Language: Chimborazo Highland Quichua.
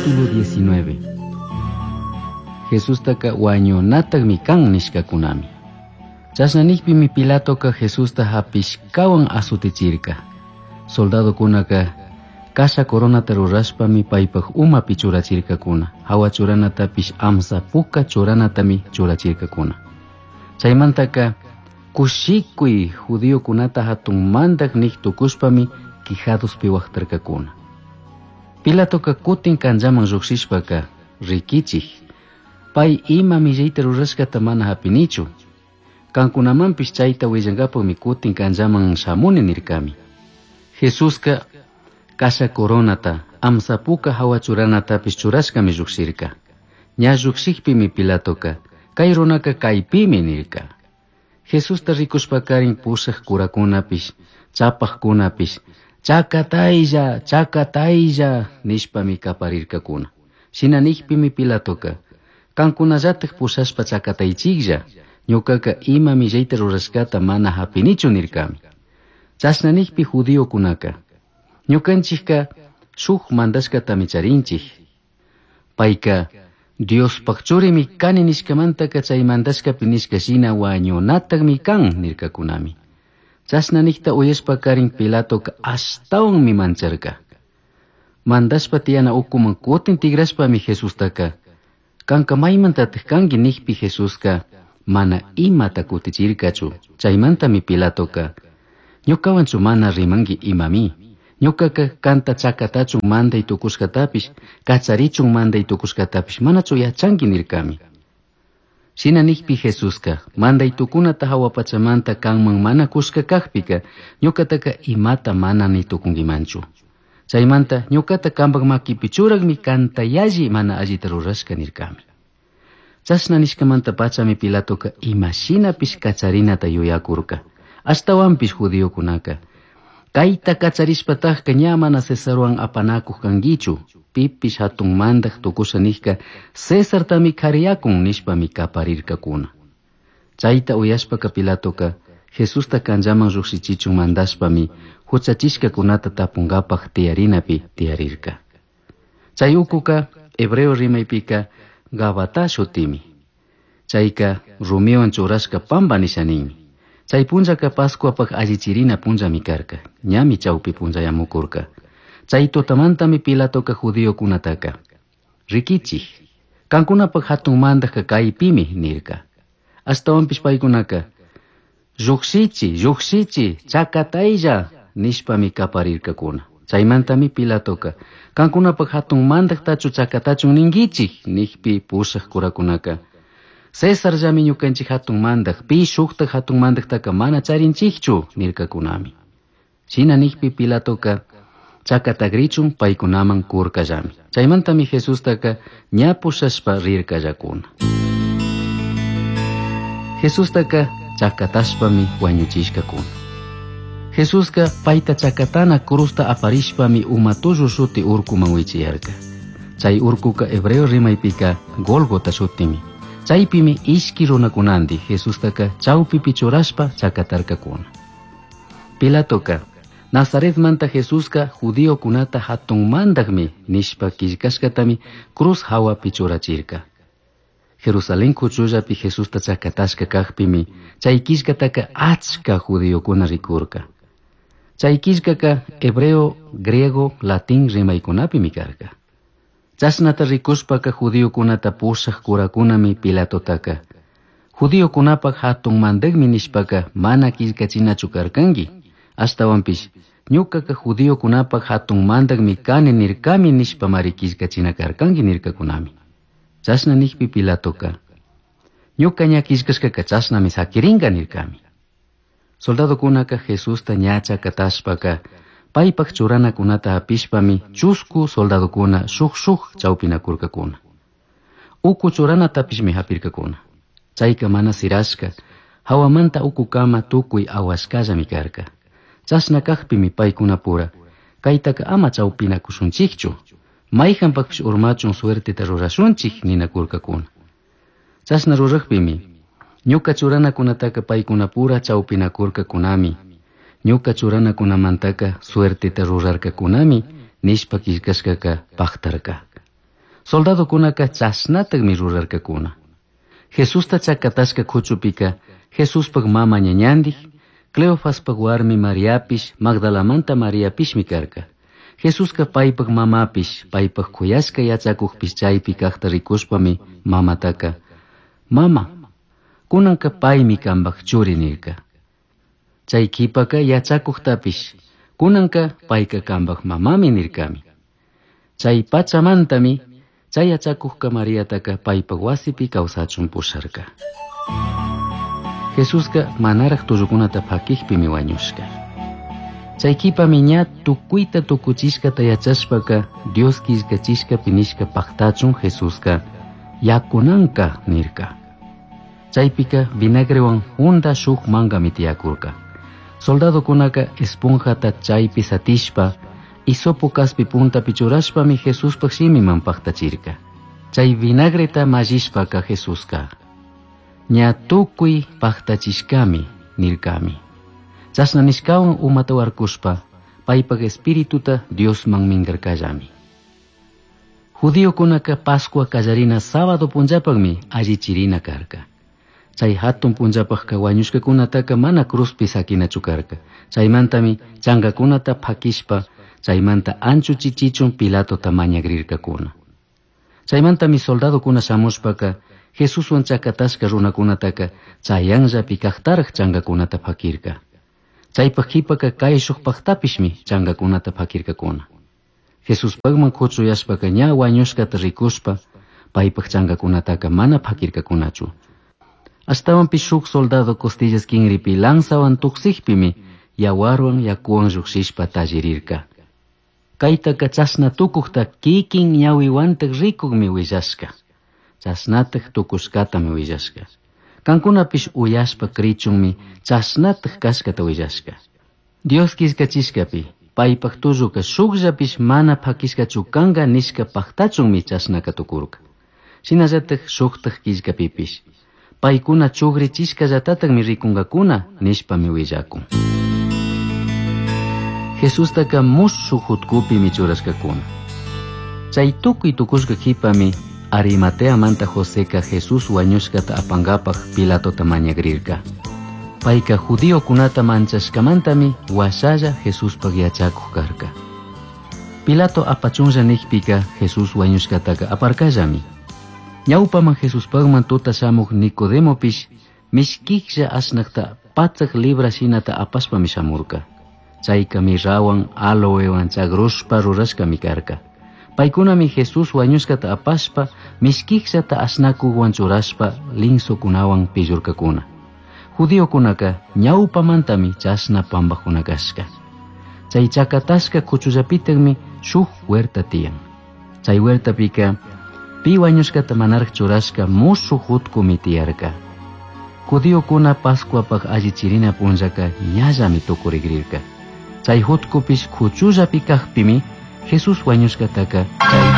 Capítulo 19. Jesustaca huañunatajmi can nishcacunami. Chashna nijpimi Pilatoca Jesusta japishcahuan azutichirca. Soldadocunaca kasha coronata rurashpami paipaj umapi churachircacuna. Jahua churanatapish amsa puca churanatami churachircacuna. Chaimantaca kushikuy judiocunata hatun mandaj nij tucushpami quijadospi huajtarcacuna. Pilatoca kutin canllaman llujshishpaca riquichij, pai ima millayta rurashcata mana japinichu. Cancunamanpish chayta huillankapakmi kutin canllaman shamuni nirkami. Jesuska kasha coronata, amsa puka jahua churanatapish churashkami llujshirka. Ña llujshijpimi Pilatoca, kay runaka kaypimi nirka. Jesusta rikushpakarin pushaj curakunapish, chapajkunapish, chakataylla, chakataylla nishpami kaparirkakuna. Shina nijpimi Pilatoca, kankunallataj pushashpa chakataychiklla, ñukaka ima millayta rurashkata mana japinichu nirkami. Chashna nijpi judiokunaka, ñukanchikka shuk mandashkatami charinchik. Payka Diospaj churimi kani nishkamantaka chay mandashkapi nishka shina wañunatajmi kan nirkakunami. Chashna nijta uyashpakarin Pilatoka ashtawanmi mancharka. Mandashpa tiyana ukuman kutin tigrashpami Jesustaka, kanka maymantataj kanki nijpi Jesuska mana imata kutichirkachu. Chaymantami Pilatoka, ñukawanchu mana rimanki imami. Ñukaka kanta chakatachun manday tukushkatapish, kacharichun manday tukushkatapish manachu yachanki nirkami. Shina nijpi Jesuska, manday tukunata jahua pachamanta kanman mana kushka kajpika, ñukataka imata mana ni tukunkimanchu. Chaymanta ñukata kanpak makipi churakmi kanta yalli mana allita rurashka nirkami. Chashna nishkamanta pachami Pilatoka imashinapish kacharinata yuyakurka. Ashtawanpish judiokunaka, kayta kacharishpatajka ña mana Cesarwan apanakuj kankichu, pipish hatun mandaj tukusha nijka Cesartami kariyakun nishpami kaparirkakuna. Chayta uyashpaka Pilatoka Jesusta canllaman llujshichichun mandashpami huchachishkakunata tapunkapaj tiyarinapi tiyarirka. Chay ukuka hebreo rimaypika Gabata shutimi. Chayka rumiwan churashka pampa nisha ninmi. Chay punllaka Pascuapaj allichirina punllami karka, ñami chawpi punllayamukurka. Chay tutamantami Pilatoka judiokunataka, rikichij, kankunapaj hatun mandajka kaypimi nirka. Ashtawanpish paykunaka, llujshichi, llujshichi, chakataylla nishpami kaparirkakuna. Chaymantami Pilatoka, kankunapaj hatun mandajtachu chakatachun ninkichik nijpi pushaj curakunaka, Cesarllami ñukanchik hatun mandaj, pi shuktaj hatun mandajtaka mana charinchikchu nirkakunami. Shina nijpi Pilatoka chakatagrichun paykunaman kurkallami. Chaymantami Jesustaka ña pushashpa rirkallakuna. Jesustaka chakatashpami wañuchishkakuna. Jesuska payta chakatana cruzta aparishpami uma tullu shuti urkuman wichiyarka. Chay urkuka hebreo rimaypika Golgota shutimi. Chaypimi ishki runakunandi Jesustaka chawpipi churashpa chakatarkakuna. Pilatoka Nazaretmanta Jesuska judiokunata hatun mandajmi nishpa killkashkatami cruz hawapi churachirka. Jerusalén kuchullapi Jesusta chakatashka kajpimi chay killkataka achka judiokuna rikurka. Chay killkaka hebreo, griego, latín rimaykunapimi karka. Chashnata rikushpaka judiokunata pushaj curakunami Pilatotaka, judiokunapaj hatun mandajmi nishpaka mana killkachinachu karkanki, ashtawanpish ñukaka judiokunapaj hatun mandajmi kani nirkami nishpamari killkachina karkanki nirkakunami. Chashna nijpi Pilatoka, ñuka ña killkashkaka chashnami sakirinka nirkami. Soldadokunaka Jesusta ña chakatashpaka paypaj churanakunata hapishpami chusku soldadokuna shuk shuk chawpinakurkakuna. Uku churanatapishmi hapirkakuna. Chayka mana sirashka, hawamanta ukukama tukuy awashkallami karka. Chashna kajpimi paykunapura, kaytaka ama chawpinakushunchikchu, mayhanpakpish urmachun suerteta rurashunchik ninakurkakuna. Chashna rurajpimi, ñuka churanakunataka paykunapura chawpinakurkakunami, ñuka churanakunamantaka suerteta rurarkakunami nishpa killkashkaka pajtarka. Soldadocunaca chashnatajmi rurarcacuna. Jesusta chacatashca cuchupika Jesuspaj mama ñañandij, Cleofaspaj warmi Mariapish, Magdalamanta Mariapishmi carca. Jesusca paipaj mamapish, paipaj cuyashca yachacujpish chaipi cajta ricushpami mamataca, Mama, cunanca paimi cambaj churi nirca. Chay quipaka yachacujtapish, cunanca paica cambaj mamami nircami. Chay pachamantami, chay yachacujca Mariataca paipaj wasipi causachun pusharca. Jesusca manaraj tullucunata pakijpimi huañushca. Chay quipami ña tucuita tucuchishcata yachashpaca Dios quillcachishcapi nishca pactachun Jesusca yacunanca nirca. Chaypika vinagrewan junda shuk mangami tiyacurca. Soldadocunaca esponjata chaypi satishpa hisopo caspi puntapi churashpami Jesuspaj shimiman pactachirca. Chay vinagreta mallishpaca Jesusca ña tucui pactachishcami nircami. Chashna nishcawan umata warkushpa paipaj espirituta Diosman mingarcallami. Judiocunaca Pascua callarina sábado punllapajmi allichirina carca. Chay hatun punllapajka wañushkakunataka mana cruzpi sakinachu karka. Chaymantami chankakunata pakishpa chaymanta anchuchichichun Pilatota mañagrirkakuna. Chaymantami soldadokuna shamushpaka Jesuswan chakatashka runakunataka chayanllapi kajtaraj chankakunata pakirka. Chaypaj qhipaka kayshukpajtapishmi chankakunata pakirkakuna. Jesuspajman kuchuyashpaka ña wañushkata rikushpa paypaj chankakunataka mana pakirkakunachu. Ashtawanpish shuk soldado costillas kinripi lanzawan tuksijpimi yawarwan yakuwan llukshishpa tallirirka. Kaytaka chashna tukukta kikin ñawiwantaj rikukmi willashka. Chashnataj tukushkatami willashka. Kankunapish uyashpa krichunmi chashnataj kashkata willashka. Dios killkachishkapi paypaj tulluka shukllapish mana pakishkachu kanka nishka paktachunmi chashnaka tukurka. Shinallataj shuktaj killkapipish paykuna chugrichishkallatatami rikunkakuna nishpami willakun. Jesustaka mushuj hutkupimi churashkakuna. Chay tukuy tukushka qhipami Arimateamanta Joseca Jesús wañushkata apankapaj Pilatota mañagrirka. Payka judiokunata manchashkamantami washalla Jesuspaj yachakuj karka. Pilato apachunlla nijpika Jesús wañushkataka aparkallami. Ñawpaman Jesuspajman tuta shamuj Nicodemopish mishkijlla ashnakta patsaj libra shinata apashpami shamurka. Chayka mirrawan aloewan chagrushpa rurashkami karka. Paykunami Jesús wañushkata apashpa mishkijllata ashnakuwan churashpa linsokunawan pillurkakuna. Judiokunaka ñawpamantami chashna pampakuna kashka. Chay chakatashka kuchullapitakmi shuk huerta tiyan. Chay huertapika pi wañushkata manaraj churashka mushuj hutkumi tiyarka. Judiokuna Pascuapaj allichirina punllaka ñallami tukurigrirka. Chay hutkupish kuchullapi kajpimi Jesús wañushkataka chay